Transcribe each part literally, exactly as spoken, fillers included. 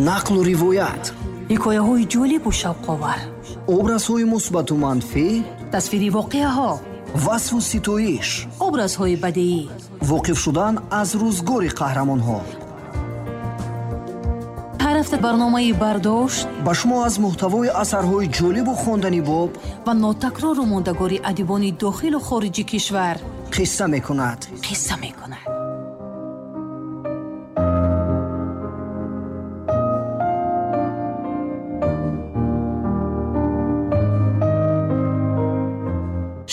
Нақлу ривоят, ҳикояҳои ҷолибу шавқовар, образҳои мусбату манфӣ, тасвири воқеаҳо, васфу ситоиш, образҳои бадеӣ, воқиф шудан аз рӯзгори қаҳрамонҳо. Ҳар ҳафта барномаи «Бардошт» ба шумо аз муҳтавои асарҳои ҷолибу хондани боб ва нотакрору мондагори адибони дохилу хориҷи кишвар қисса мекунад. Қисса мекунад.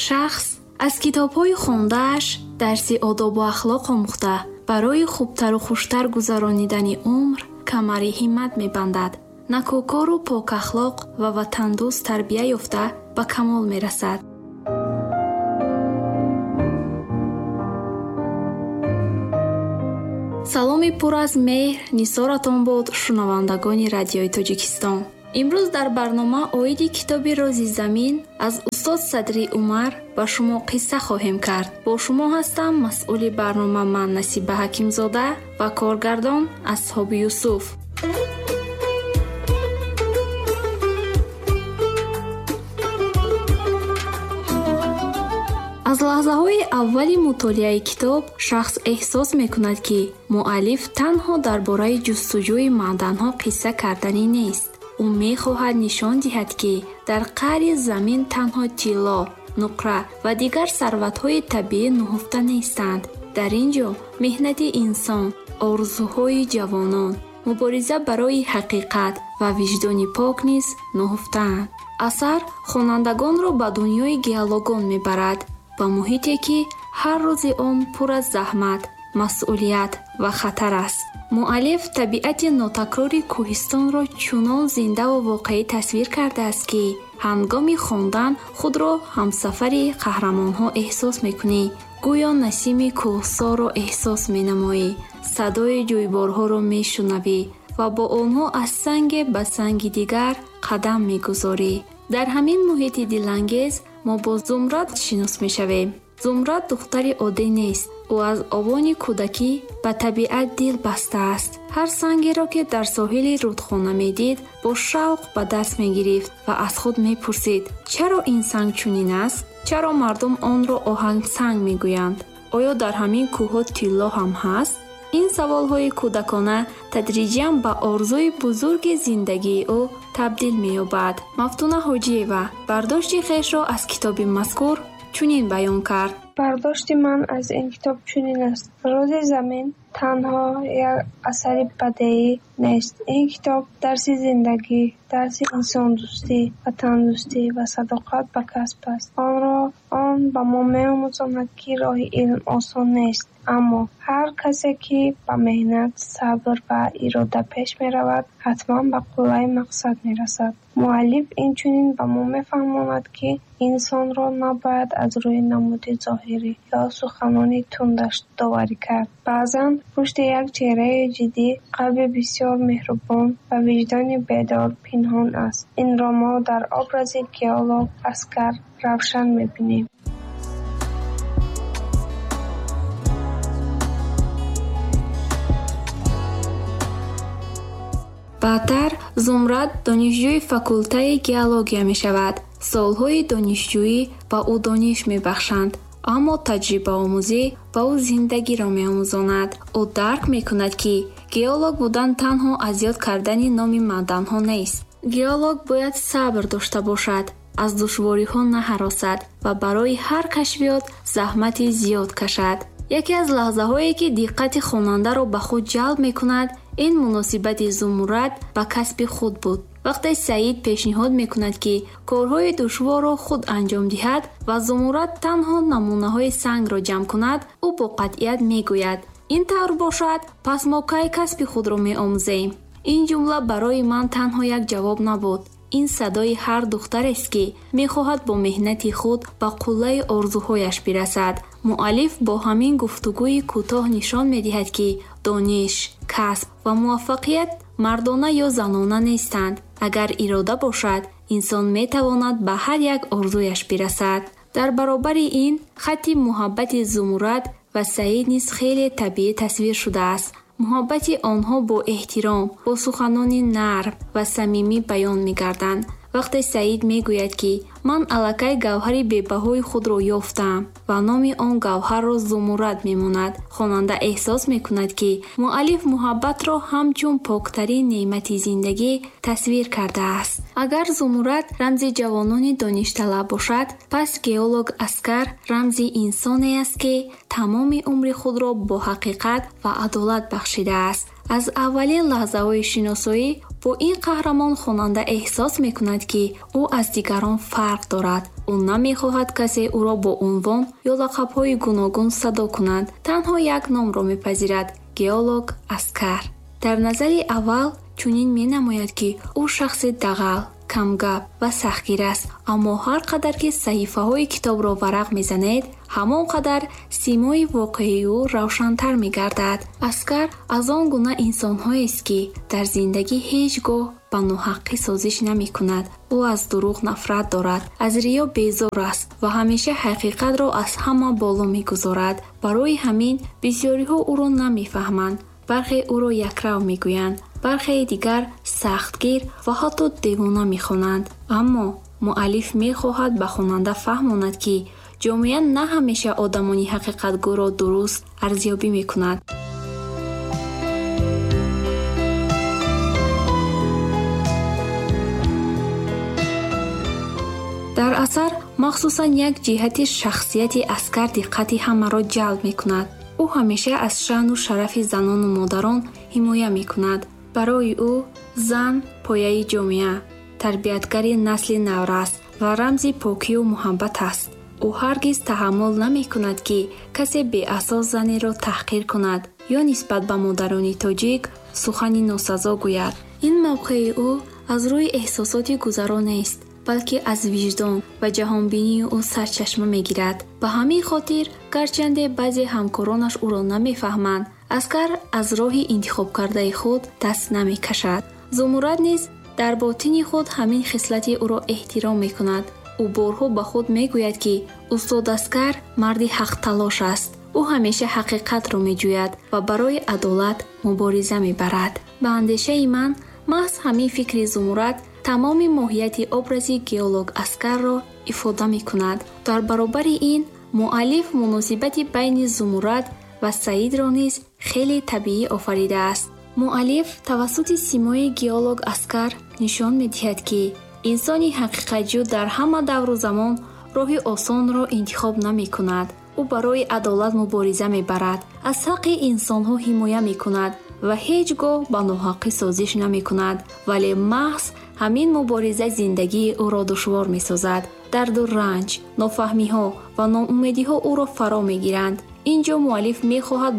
Шахс аз китобҳои хондааш дарси одобу ахлоқ омӯхта, барои хубтару хуштар гузаронидани умр камари ҳиммат мебандад. Накӯкору покахлоқ ва ватандӯст тарбия ёфта ба камол мерасад. Саломи пур аз меҳр нисоратон бод, шунавандагони радиои Тоҷикистон. Имрӯз дар барнома оиди китоби «Рози замин» аз устод Садри Умар ба шумо қисса хоҳем кард. Бо шумо ҳастам масъули барнома ман Насиба Ҳакимзода ва коргардон Асҳоби Юсуф. Аз лаҳзаҳои аввали мутолиаи китоб шахс эҳсос мекунад, ки муаллиф танҳо дар бораи ҷустуҷӯи маъданҳо қисса карданӣ нест. Ӯ мехоҳад нишон диҳад, ки дар қаъри замин танҳо тилло, нуқра ва дигар сарватҳои табиӣ нуҳуфта нестанд. Дар ин ҷо меҳнати инсон, орзуҳои ҷавонон, мубориза барои ҳақиқат ва виҷдони пок низ нуҳуфтаанд. Асар хонандагонро ба дунёи геологон мебарад, ба муҳите, ки ҳар рӯзи он пур аз заҳмат, масъулият ва хатар аст. Муаллиф табиати нотакрори кӯҳистонро чунон зиндаву воқеӣ тасвир кардааст, ки ҳангоми хондан худро ҳамсафари қаҳрамонҳо эҳсос мекунӣ. Гӯё насими кӯҳсорро эҳсос менамоӣ, садои ҷӯйборҳоро мешунавӣ ва бо онҳо аз санге ба санги дигар қадам мегузорӣ. Дар ҳамин муҳити дилангез мо бо Зумрад шинос мешавем. Зумрад духтари оддӣ нест. Ӯ аз овони кӯдакӣ ба табиат дил бастааст. Ҳар сангеро, ки дар соҳили рудхона медид, бо шавқ ба даст мегирифт ва аз худ мепурсид: чаро ин санг чунин аст? Чаро мардум онро оҳангсанг мегӯянд? Оё дар ҳамин кӯҳҳо тилло ҳам ҳаст? Ин саволҳои кӯдакона тадриҷан ба орзуи бузурги зиндагии ӯ табдил меёбад. Мафтуна Ҳоҷиева бардошти хешро аз китоби мазкур чунин баён кард. Бардошти ман аз ин китоб чунин аст. «Рози замин» танҳо як асари бадеӣ нест. Ин китоб дарси зиндагӣ, дарси инсондӯстӣ, ватандӯстӣ ва садоқат ба касб аст. Онро он ба мо меомӯзонад, ки роҳи илм осон нест, аммо ҳар касе, ки ба меҳнат, сабр ва ирода пеш меравад, ҳатман ба қуллаи мақсад мерасад. Муаллиф инчунин ба мо мефаҳмонад, ки инсонро набояд аз рӯи намуди зоҳирӣ ё суханони тундаш доварӣ кард. Баъзан пушти як чеҳраи ҷиддӣ қалби бисёр меҳрубон ва виҷдони бедор пинҳон аст. Инро мо дар образи геолог Аскар равшан мебинем. Баъдтар Зумрад донишҷӯи факултаи геология мешавад. Солҳои донишҷӯӣ ба ӯ дониш мебахшанд, аммо таҷрибаомӯзӣ ба ӯ зиндагиро меомӯзонад. Ӯ дарк мекунад, ки геолог будан танҳо аз ёд кардани номи маъданҳо нест. Геолог бояд сабр дошта бошад, аз душвориҳо наҳаросад ва барои ҳар кашфиёт заҳмати зиёд кашад. Яке аз лаҳзаҳое, ки диққати хонандаро ба худ ҷалб мекунад, ин муносибати Зумрад ба касби худ буд. Вақте Саид пешниҳод мекунад, ки корҳои душворро худ анҷом диҳад ва Зумрад танҳо намунаҳои сангро ҷамъ кунад, ӯ бо қатъият мегӯяд: ин тавр бошад, пас мо кай касби худро меомӯзем? Ин ҷумла барои ман танҳо як ҷавоб набуд. Ин садои ҳар духтарест, ки мехоҳад бо меҳнати худ ба қуллаи орзуҳояш бирасад. Муаллиф бо ҳамин гуфтугӯи кӯтоҳ нишон медиҳад, ки дониш, касб ва муваффақият мардона ё занона нестанд. Агар ирода бошад, инсон метавонад ба ҳар як орзуяш бирасад. Дар баробари ин, хатти муҳаббати Зумурад ва Саид низ хеле табиӣ тасвир шудааст. Муҳаббати онҳо бо эҳтиром, бо суханони нарм ва самимӣ баён мегарданд. Вақте Саид мегӯяд, ки ман аллакай гавҳари бебаҳои худро ёфтам ва номи он гавҳарро Зумуррад мемонад, хонанда эҳсос мекунад, ки муаллиф муҳаббатро ҳамчун поктарин неъмати зиндагӣ тасвир кардааст. Агар Зумуррад рамзи ҷавонони доништалаб бошад, пас геолог Аскар рамзи инсоне аст, ки тамоми умри худро бо ҳақиқат ва адолат бахшидааст. Аз аввалин лаҳзаҳои шиносоӣ бо ин қаҳрамон хонанда эҳсос мекунад, ки ӯ аз дигарон фарқ дорад. Ӯ намехоҳад касе ӯро бо унвон ё лақабҳои гуногун садо кунад. Танҳо як номро мепазирад – геолог Аскар. Дар назари аввал чунин менамояд, ки ӯ шахси дағал, камгап ва сахтгир аст. Аммо ҳар қадар ки саҳифаҳои китобро варақ мезанед, ҳамон қадар симои воқеии ӯ равшантар мегардад. Аскар аз он гуна инсонҳоест, ки дар зиндагӣ ҳеҷ гоҳ ба ноҳаққӣ созиш намекунад. Ӯ аз дурӯғ нафрат дорад, аз риё безор аст ва ҳамеша ҳақиқатро аз ҳама боло мегузорад. Барои ҳамин бисёриҳо ӯро намефаҳманд. Бархе ӯро якрав мегӯянд, бархеи дигар сахтгир ва ҳатто девона мехонанд. Аммо муаллиф мехоҳад ба хонанда фаҳмонад, ки ҷомеа на ҳамеша одамони ҳақиқатгӯро дуруст арзёбӣ мекунад. Дар асар махсусан як ҷиҳати шахсияти Аскар диққати ҳамаро ҷалб мекунад. Ӯ ҳамеша аз шаъну шарафи занону модарон ҳимоя мекунад. Барои ӯ зан пояи ҷомеа, тарбиятгари насли наврас ва рамзи покию муҳаббат аст. Ӯ ҳаргиз таҳаммул намекунад, ки касе беасос занеро таҳқир кунад ё нисбат ба модарони тоҷик сухани носазо гӯяд. Ин мавқеи ӯ аз рӯи эҳсосоти гузаро нест, балки аз виҷдон ва ҷаҳонбинии ӯ сарчашма мегирад. Ба ҳамин хотир, гарчанде баъзе ҳамкоронаш ӯро намефаҳманд, Аскар аз роҳи интихобкардаи худ даст намекашад. Зумуррад низ дар ботини худ ҳамин хислати ӯро эҳтиром мекунад. Ӯ борҳо ба худ мегӯяд, ки устод Аскар марди ҳақталош аст. Ӯ ҳамеша ҳақиқатро меҷӯяд ва барои адолат мубориза мебарад. Ба андешаи ман, маҳз ҳамин фикри Зумуррад тамоми моҳияти образи геолог Аскарро ифода мекунад. Дар баробари ин, муаллиф муносибати байни Зумуррад ва Саидро низ хеле табиӣ офаридааст. Муаллиф тавассути симои геолог Аскар нишон медиҳад, ки инсони ҳақиқатҷӯ дар ҳама давру замон роҳи осонро интихоб намекунад. Ӯ барои адолат мубориза мебарад, аз ҳаққи инсонҳо ҳимоя мекунад ва ҳеҷ гоҳ ба ноҳаққӣ созиш намекунад. Вале маҳз ҳамин мубориза зиндагии ӯро душвор месозад. Дарду ранҷ, нофаҳмиҳо ва ноумедиҳо ӯро фаро мегиранд. Ин ҷо муаллиф мехоҳад